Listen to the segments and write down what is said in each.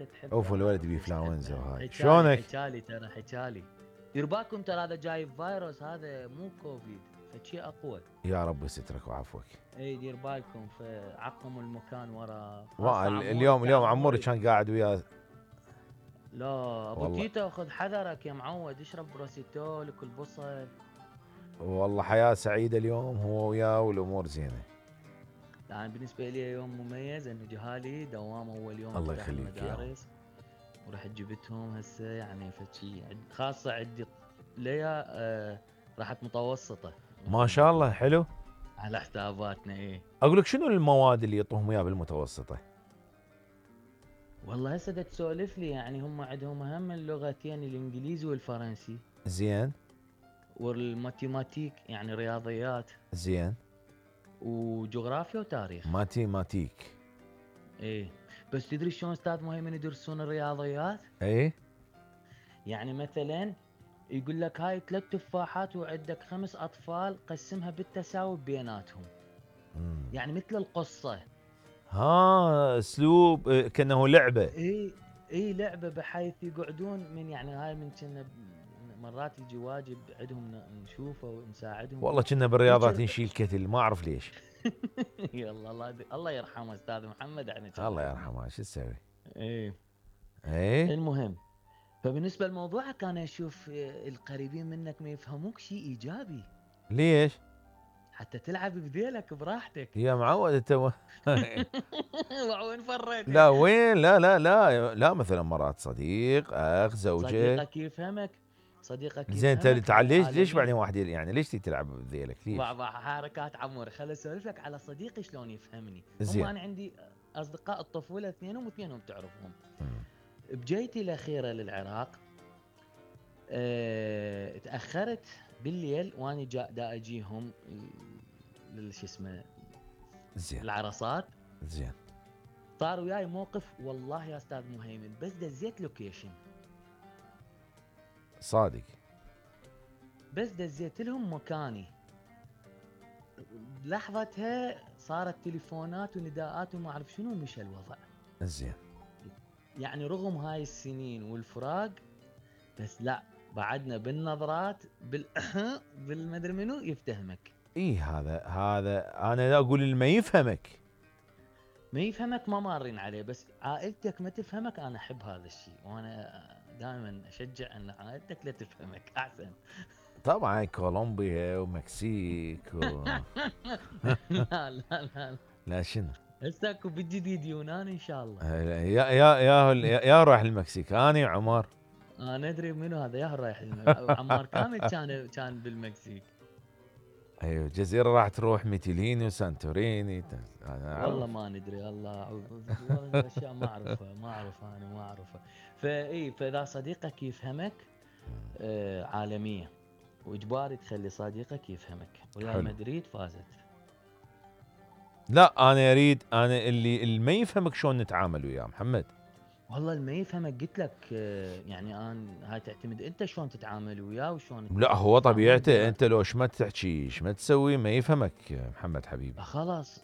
انت تحبه. اوف الولد بانفلونزا وهاي. حكالي شلونك؟ حكالي ترى حكالي. دير بالكم ترى هذا جايب فيروس، هذا مو كوفيد، فشي اقوى. يا رب يسترك وعفوك. اي دير بالكم، فعقموا المكان ورا. اليوم عموري كان قاعد وياه. لا ابو والله تيتا خذ حذرك يا معود، اشرب بروسيتول وكل بصل. والله حياة سعيدة اليوم هو وياه والامور زينة. يعني بالنسبة لي يوم مميز، انه جهالي دوام اول يوم الله افتح يخليك يا المدارس، ورحت جبتهم هسه. يعني فشي خاصة عندي ليا راحت متوسطة ما شاء الله حلو. على حساباتنا. ايه اقول لك شنو المواد اللي يعطوهم اياها بالمتوسطة؟ والله هسه تسولف لي، يعني هم عندهم اهم اللغتين الانجليزي والفرنسي. زين. والماتيماتيك يعني رياضيات. زين. وجغرافيا وتاريخ. ماتيماتيك. ايه بس تدري شلون استاذ مهيمن يدرسون الرياضيات؟ ايه يعني مثلا يقول لك هاي 3 تفاحات وعندك 5 اطفال، قسمها بالتساوي بيناتهم. يعني مثل القصة. ها اسلوب كانه لعبة. اي لعبة، بحيث يقعدون من يعني هاي من كنا مرات يجي واجب عندهم نشوفه ونساعدهم. والله كنا بالرياضات نشيل كتل ما اعرف ليش. يلا الله يرحمه استاذ محمد. يعني الله يرحمه شو تسوي. ايه ايه المهم، فبالنسبة لموضوعك انا اشوف القريبين منك ما يفهموك شيء ايجابي. ليش؟ حتى تلعب بذيلك براحتك. يا معود انت وين فريت؟ لا وين؟ لا مثلا مرات صديق اخ زوجة. صديقك يفهمك. زين انت ليش بعدين واحد يعني ليش تلعب بذيلك ليش؟ حركات عموري. خل اسولف لك على صديقي شلون يفهمني. زين. انا عندي اصدقاء الطفولة اثنينهم واثنينهم تعرفهم. بجيتي الاخيرة للعراق تأخرت بالليل، وانا دا اجيهم شو اسمه زين العرصات. زين. صار وياي موقف والله يا استاذ مهيمن، بس دزيت لوكيشن صادق، بس دزيت لهم مكاني، لحظتها صارت تليفونات ونداءات وما اعرف شنو، مشى الوضع. زين. يعني رغم هاي السنين والفراق، بس لا بعدنا بالنظرات بالمدري منو يفتهمك. هذا انا اقول اللي ما يفهمك ما مارين عليه، بس عائلتك ما تفهمك. انا احب هذا الشيء، وانا دائما اشجع ان عائلتك لا تفهمك احسن. طبعا كولومبيا ومكسيك لا شنو هسه اكو بالجديد يونان ان شاء الله. يا رايح المكسيك انا عمر. انا ادري منو هذا يا رايح عمار كامل كان بالمكسيك. ايوه الجزيره راح تروح ميتيليني وسانتوريني. والله ما ندري، الله اعوذ اشياء ما اعرفها. فاذا صديقك يفهمك عالميه، واجباري تخلي صديقك يفهمك. ريال مدريد فازت. لا انا اريد اللي ما يفهمك شلون نتعامل وياه محمد. والله اللي ما يفهمك قلت لك يعني انا هاي تعتمد انت شلون تتعامل وياه وشلون. لا هو طبيعته انت لو ما تحكي ما تسوي ما يفهمك محمد حبيبي.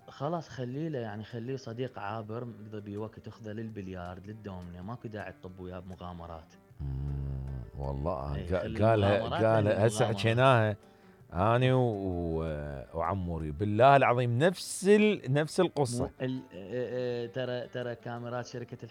خلاص خليه له، يعني خليه صديق عابر يقضي بيه وقت، اخذه للبليارد للدومنه، ماكو داعي تطب وياه بمغامرات. والله قال هسه حكيناها اني وعموري بالله العظيم نفس القصه. ترى كاميرات شركه